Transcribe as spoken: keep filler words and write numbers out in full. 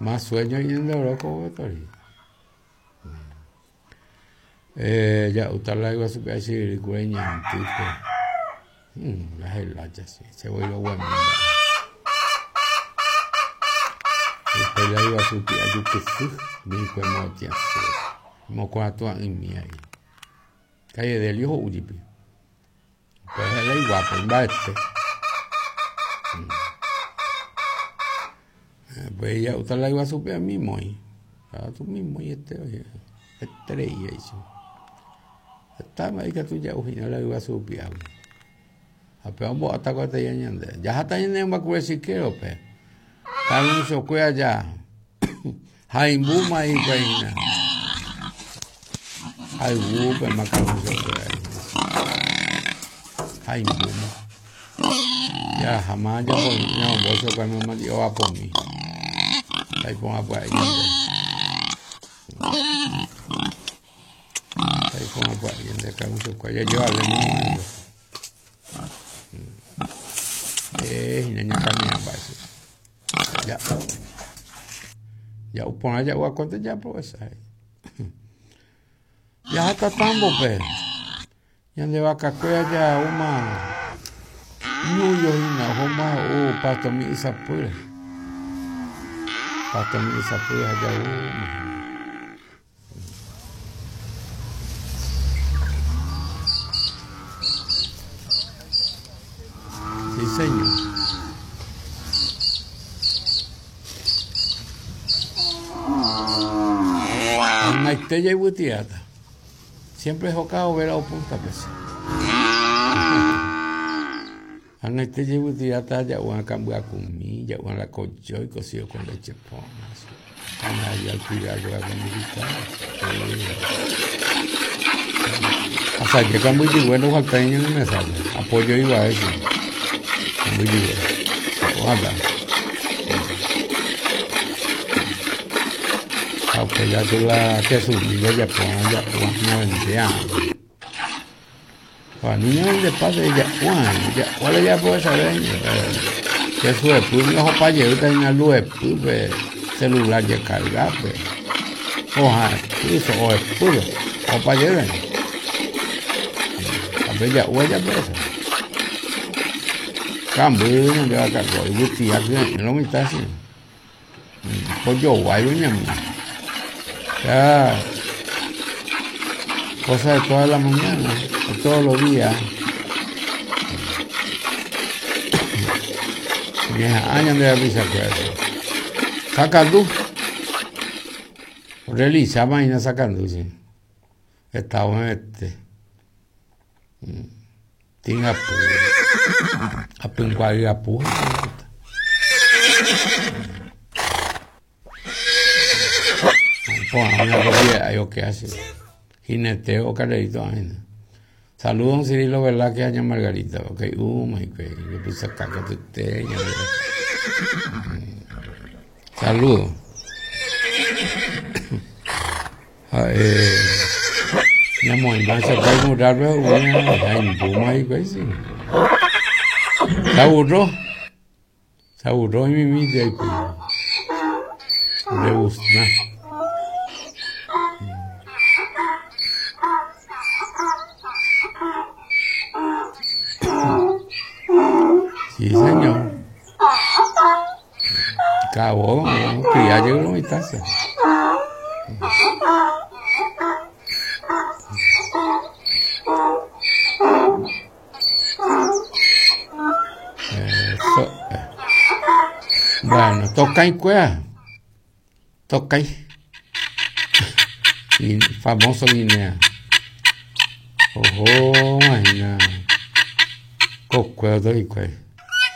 Más sueño y en oro tori. Eh, ya uta la iba a super así tipo. La helacha sí, se vuelve bueno. Después la iba a subir a yuquesu, mi cuerno tiasu. Mocuato a mi ahí. Calle del hijo Ujipi. Pues la igual, pues va este. Pues ya usted la iba a subir a mí, muy. A tú mismo y este, oye. Estrella eso. Está marica tú ya ujina la iba a subir. A pe vamos hasta cuando ya ñande. Ya hasta ñande va a si quiero pe. Carlos se fue allá. Jaimbuma y peina. Jaimbú pe macarón se fue ahí. Jaimbuma. Ya jamás yo no vos se fue mamá yo va por mí. Ahí ponga por ahí. Ahí ponga por ahí, de Carlos se fue. Ya yo hablé mamá. Eh, niña camina base. Ya. Ya upon ya wa conta ya pues ahí. Ya hasta tambo pe. Ya de vaca cuya ya uma ñuyo hina homa o pasto mi isapura. Pasto mi isapura ya uma. Sí, señor. Naitella y butiata. Siempre es jocado ver a punta pesa. Anaitella y butiata ya van a cambiar conmigo, ya van a la cocho y cocido con leche pona. Ana ya cuidado con mi Hasta que cambio y bueno falta niño no me sale. Apoyo iba a eso. Muy bien. Ojalá. Apoyar tú la que subí ya pon ya pon no vendía. Para niños de pase ya Juan, ya cuál ya puede saber que su después no pa llevar en la luz pues celular ya cargar pues. Ojalá, eso o después o pa llevar. A ver ya huella pues. Cambio no le va a cargar, y butía que no me está así. Pollo guay, doña mía. Ya, cosa de toda la mañana, de todos los días. Vieja, años de la risa que hace. Saca luz. Realiza vaina sacando, sí. Estaba en este. Tinga a apu. Yo qué hace. Jineteo, carrerito. Saludos, don Cirilo Velázquez, año Margarita. Ok, uh, my God. Yo puse caca de usted. Saludos. Eh, mi amor, va a sacar un raro, se aburró. Se aburró y mi mi ahí. Le gusta. Sí, señor. Acabó, que ya llegó mi taza. Eso. Bueno, toca y cuea. Toca y. Famoso Guinea. Ojo, imagina. Cocueo y cuea.